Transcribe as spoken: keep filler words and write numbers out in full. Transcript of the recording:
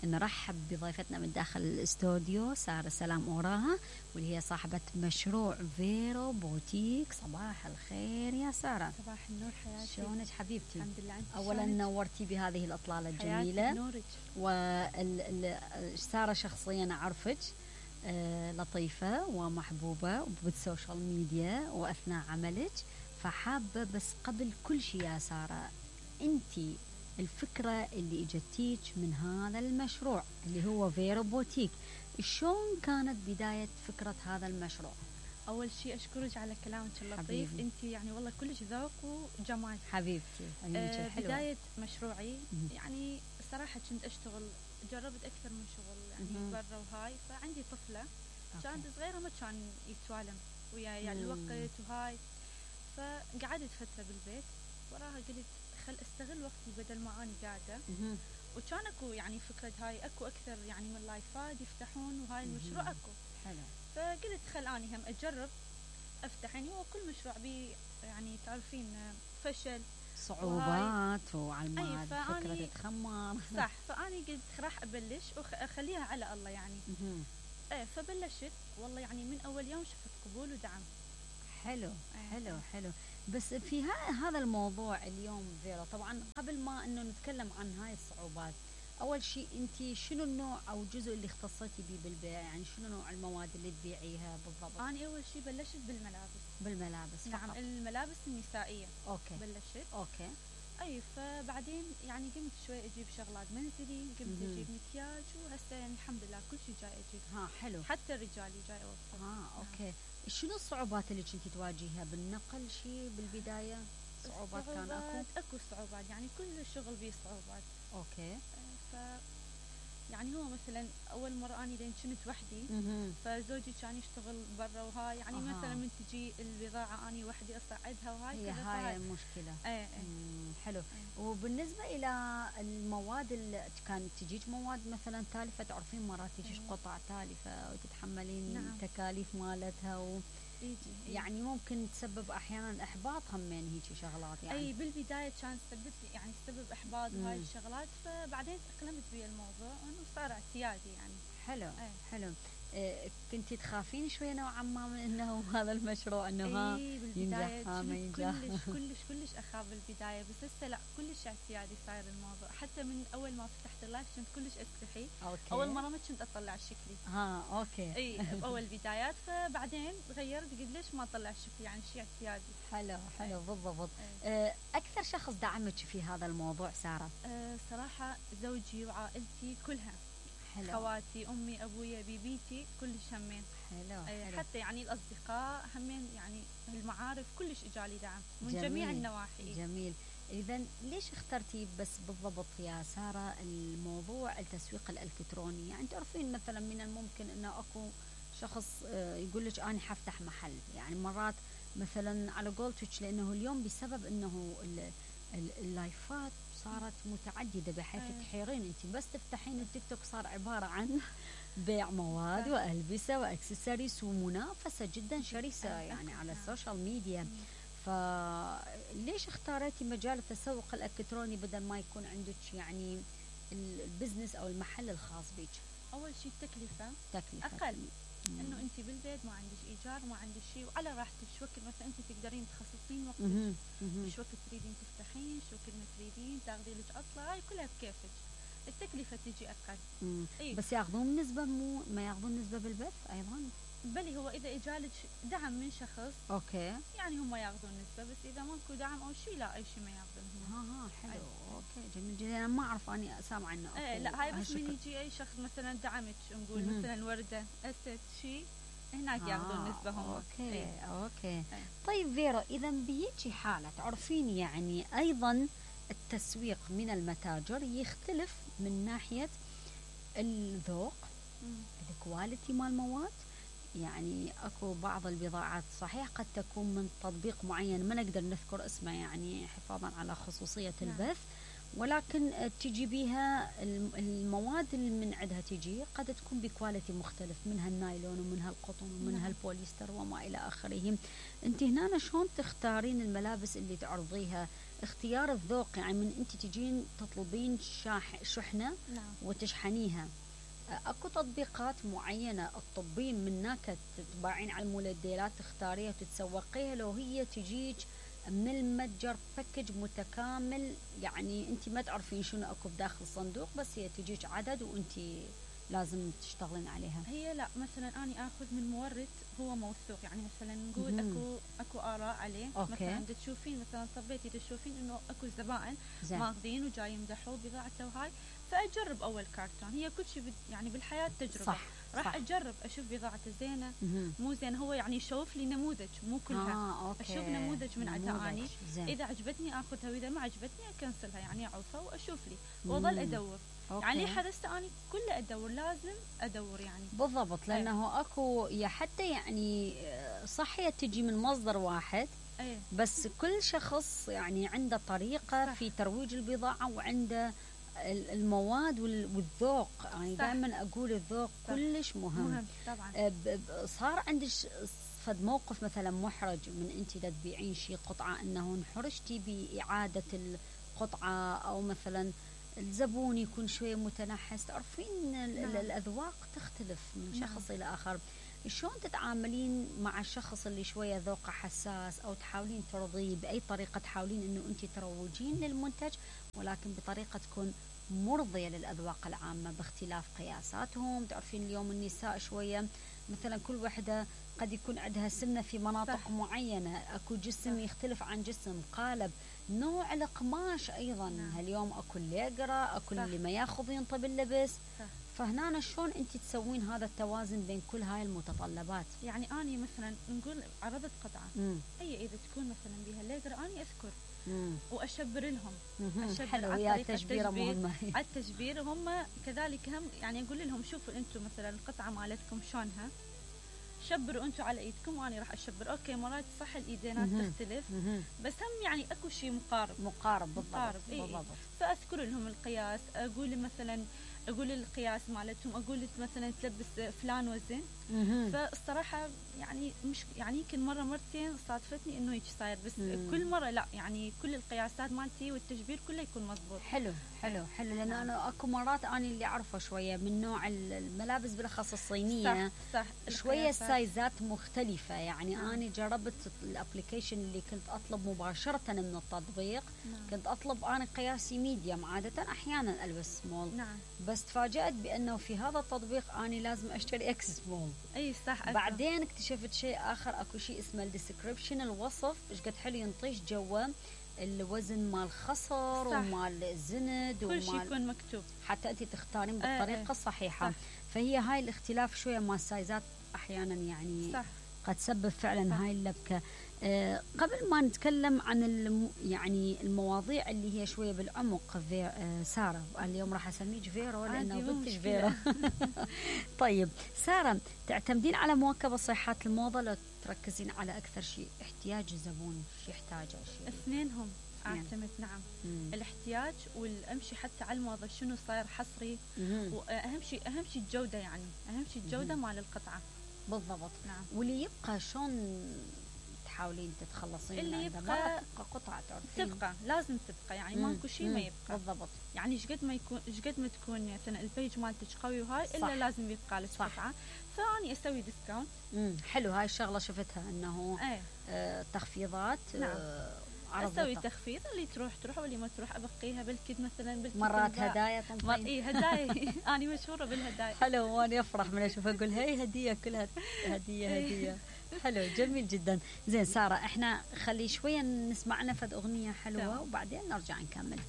نرحب بضيفتنا من داخل الاستوديو سارة سلام أوراها، واللي هي صاحبة مشروع فيرو بوتيك. صباح الخير يا سارة. صباح النور حياتي، شلونك حبيبتي؟ الحمد لله. أولا نورتي بهذه الإطلالة الجميلة. نورك. وسارة شخصيا أعرفك آه لطيفة ومحبوبة بالسوشيال ميديا وأثناء عملك، فحابة بس قبل كل شيء يا سارة، أنتي الفكرة اللي اجتيك من هذا المشروع اللي هو فيرو بوتيك، شلون كانت بداية فكرة هذا المشروع؟ أول شيء أشكرك على كلامك اللطيف، أنت يعني والله كلش ذوق وجمال حبيبتي. آه بداية مشروعي يعني صراحة كنت أشتغل، جربت أكثر من شغل يعني برا وهاي، فعندي طفلة كانت صغيرة ما كان يتوالم وياي يعني الوقت وهاي، فقعدت فترة بالبيت، وراها قلت خل استغل وقتي بدل ما اني قاعده. وكان اكو يعني فكره هاي اكو اكثر يعني من لايفات يفتحون وهاي المشروع اكو حلو، فقلت خل اني هم اجرب افتح. يعني هو كل مشروع بي يعني تعرفين فشل صعوبات وعلى فكره تتخمر صح، فاني قلت راح ابلش واخليها على الله يعني. ايه فبلشت والله يعني من اول يوم شفت قبول ودعم. حلو حلو حلو. بس في هذا الموضوع اليوم فيرو، طبعا قبل ما انه نتكلم عن هاي الصعوبات، اول شيء انت شنو النوع او الجزء اللي اختصيتي به بالبيع؟ يعني شنو نوع المواد اللي تبيعيها بالضبط؟ انا اول شيء بلشت بالملابس. بالملابس نعم فقط. الملابس النسائيه. اوكي بلشت اوكي. اي فبعدين يعني قمت شوي اجيب شغلات منزلي، قمت اجيب مكياج، وهسه يعني الحمد لله كل شيء جاي اجيب. ها حلو. حتى الرجالي جاي اوصل. اه اوكي. نعم. شنو الصعوبات اللي كنتي تواجهها بالنقل؟ شيء بالبدايه صعوبات كان اكو؟ اكو صعوبات، يعني كل الشغل بيه صعوبات. اوكي. ف يعني هو مثلا اول مره اني لين كنت وحدي، فزوجي كان يشتغل برا وهاي يعني أه. مثلا من تجي البضاعه اني وحدي اصعدها وهاي هي هاي المشكله. ايه ايه. حلو. أه. وبالنسبه الى المواد اللي كانت تجيك مواد مثلا تالفه، تعرفين مرات تجيك أيه. قطع تالفه وتتحملين نعم. تكاليف مالتها و إيجي. يعني ممكن تسبب احيانا احباط هم من هيك شغلات يعني. اي بالبدايه كان سبب يعني سبب احباط وهاي الشغلات، فبعدين اقلمت بي الموضوع انه صار اعتيادي يعني. حلو أي. حلو. إيه كنتي تخافين شوي نوعا ما من انه هذا المشروع انه ها ينجح ها ما ينجح؟ كلش كلش كلش اخاف بالبدايه، بس هسه لا كلش اعتيادي صاير الموضوع. حتى من اول ما فتحت اللايف كنت كلش استحي. أوكي. اول مره ما كنت اطلع شكلي. ها اوكي. اي باول بدايات، فبعدين تغيرت قلت ليش ما اطلع شكلي يعني شيء اعتيادي. حلو حلو أي. بالضبط. أه اكثر شخص دعمك في هذا الموضوع ساره؟ أه صراحه زوجي وعائلتي كلها. حلو. خواتي، امي، ابويا، بيبيتي، كلش همين. حلو. حلو. حتى يعني الاصدقاء همين، يعني المعارف كلش اجالي دعم من جميل. جميع النواحي. جميل. اذا ليش اخترتي بس بالضبط يا ساره الموضوع التسويق الالكتروني؟ يعني تعرفين مثلا من الممكن انه اكو شخص يقول لك انا حفتح محل، يعني مرات مثلا على قولتك، لانه اليوم بسبب انه اللايفات صارت متعدده بحيث أيه. تحيرين انت بس تفتحين التيك توك صار عباره عن بيع مواد أيه. والبسه واكسسوارز ومنافسه جدا شرسه أيه. يعني على السوشيال ميديا. فليش اختاريتي مجال التسوق الالكتروني بدل ما يكون عندك يعني البزنس او المحل الخاص بك؟ اول شيء التكلفه تكلفه اقل، انه انت بالبيت ما عندك ايجار ما عندك شيء، وعلى راحتك شو وقت مثلا انت تقدرين تخصصين وقتك، شو وقت تريدين تفتحين، شو وقت ما تريدين تاخذي لك عطله، هاي كلها بكيفك. التكلفه تجي اقل. إيه؟ بس ياخذون نسبه، مو ما ياخذون نسبه بالبث ايضا؟ بلي هو اذا اجالك دعم من شخص اوكي يعني هم ياخذون نسبه، بس اذا ماكو دعم او شيء لا اي شيء ما ياخذون هم. ها ها حلو. أيه. اوكي جميل جدا. انا ما اعرف، اني سامعه عنه. ايه لا هاي بس من يجي اي شخص مثلا دعمك، نقول مم. مثلا ورده اسد شيء هناك ياخذون آه نسبه هم. اوكي ايه. اوكي ايه. طيب فيرو، اذا بهيجي حاله تعرفين يعني ايضا التسويق من المتاجر يختلف من ناحيه الذوق، الكواليتي مال المواد. يعني اكو بعض البضاعات صحيح قد تكون من تطبيق معين ما نقدر نذكر اسمه يعني حفاظا على خصوصية البث، ولكن تجي بيها المواد اللي من عندها تجي قد تكون بكواليتي مختلف، منها النايلون ومنها القطن ومنها البوليستر وما إلى آخره. انت هنا شلون تختارين الملابس اللي تعرضيها؟ اختيار الذوق، يعني من انت تجين تطلبين شاح شحنه نعم. وتشحنيها، اكو تطبيقات معينه تطبين من هناك تطبعين على المولديلات تختاريها وتتسوقيها، لو هي تجيك من المتجر باكج متكامل، يعني انت ما تعرفين شنو اكو بداخل الصندوق، بس هي تجيك عدد وانت لازم تشتغلين عليها. هي لا، مثلا اني اخذ من مورد هو موثوق، يعني مثلا نقول اكو اكو اراء عليه. أوكي. مثلا تشوفين مثلا صبيتي تشوفين انه اكو زبائن ماخذين وجاي يمدحوا بضاعته وهاي، فاجرب اول كارتون. هي كل شيء يعني بالحياه تجربه. صح. راح صح. اجرب اشوف بضاعته زينه مم. مو زين، هو يعني يشوف لي نموذج مو كلها. آه، أوكي. اشوف نموذج من عندها اني، زين. اذا عجبتني اخذها واذا ما عجبتني اكنسلها، يعني اعوفها واشوف لي واظل ادور. أوكي. يعني حرصت اني كله ادور، لازم ادور يعني. بالضبط، لانه أي. اكو يا حتى يعني صح هي تجي من مصدر واحد. أي. بس كل شخص يعني عنده طريقه صح. في ترويج البضاعه وعنده المواد والذوق، يعني دائما اقول الذوق صح. كلش مهم. مهم طبعا. صار عندك فد موقف مثلا محرج من انت تبيعين شيء قطعه انه انحرجتي باعاده القطعه، او مثلا الزبون يكون شويه متنحس؟ تعرفين نعم. الاذواق تختلف من شخص نعم. الى اخر. شلون تتعاملين مع الشخص اللي شويه ذوقه حساس، او تحاولين ترضيه باي طريقه، تحاولين انه انت تروجين للمنتج ولكن بطريقه تكون مرضيه للاذواق العامه باختلاف قياساتهم؟ تعرفين اليوم النساء شويه مثلا كل وحده قد يكون عندها سمنه في مناطق صح. معينه، اكو جسم صح. يختلف عن جسم، قالب، نوع القماش ايضا نعم. هاليوم اكو الليقره، اكو اللي ما ياخذ ينطب اللبس صح. فهنا شلون انت تسوين هذا التوازن بين كل هاي المتطلبات؟ يعني اني مثلا نقول عرضت قطعه مم. اي اذا تكون مثلا بها الليقره اني اذكر مم. واشبر لهم. اشبر حلو، يا تشبيره مهمه. على التشبير هم كذلك هم، يعني اقول لهم شوفوا انتم مثلا القطعه مالتكم شلونها، شبروا انتم على ايدكم وانا راح اشبر. اوكي مرات صح الايدينات تختلف مم. بس هم يعني اكو شيء مقارب مقارب بالضبط. مقارب. إيه. بالضبط. فاذكر لهم القياس، اقول مثلا اقول القياس مالتهم، اقول مثلا تلبس فلان وزن. فالصراحه يعني مش يعني يمكن مره مرتين صادفتني انه هيك صاير، بس مم. كل مره لا، يعني كل القياسات مالتي والتشبير كله يكون مضبوط. حلو حلو حلو، لان انا اكو مرات اني اللي اعرفه شويه من نوع الملابس بالاخص الصينيه صح, صح. شويه السايزات مختلفه، يعني مم. انا جربت الابلكيشن اللي كنت اطلب مباشره من التطبيق. نعم. كنت اطلب انا قياسي ميديم، عاده احيانا البس سمول. نعم. بس تفاجأت بأنه في هذا التطبيق أنا لازم أشتري إكس سمول. أي صح. بعدين اكتشفت شيء آخر، أكو شيء اسمه الديسكريبشن، الوصف إيش قد حلو ينطيش جوا الوزن مال الخصر ومال الزند كل شيء يكون مكتوب، حتى أنت تختارين بالطريقة آه الصحيحة. صح. فهي هاي الاختلاف شوية مال السايزات أحيانا يعني صح. قد تسبب فعلا صح. هاي اللبكة. آه قبل ما نتكلم عن الم يعني المواضيع اللي هي شويه بالعمق، آه ساره اليوم راح اسميك فيرو لانه بنتش فيرو. طيب ساره، تعتمدين على مواكبه صيحات الموضه لو تركزين على اكثر شيء احتياج الزبون، شو يحتاجه؟ شيء اثنينهم اعتمد. نعم. مم. الاحتياج والامشي حتى على الموضه شنو صاير حصري، واهم شيء اهم شيء الجوده، يعني اهم شيء الجوده مال القطعه. بالضبط. نعم. واللي يبقى شلون تحاولين تتخلصين اللي يبقى تبقى قطعة تعرفين تبقى لازم تبقى، يعني ماكو شيء ما يبقى. بالضبط. يعني ايش قد ما يكون ايش قد ما تكون مثلا البيج مالتك قوي وهاي صح. الا لازم يبقى لك قطعه. فاني اسوي ديسكاونت. امم حلو، هاي الشغله شفتها انه ايه. آه تخفيضات. نعم. آه اسوي تخفيض، اللي تروح تروح واللي ما تروح ابقيها بالكد مثلا بالكد. مرات هدايا مر... اي هدايا. انا مشهوره بالهدايا. حلو، وانا افرح من اشوف اقول هي هديه كلها هديه هديه. حلو، جميل جدا. زين ساره، احنا خلي شويه نسمع لنا فد اغنيه حلوه وبعدين نرجع نكمل.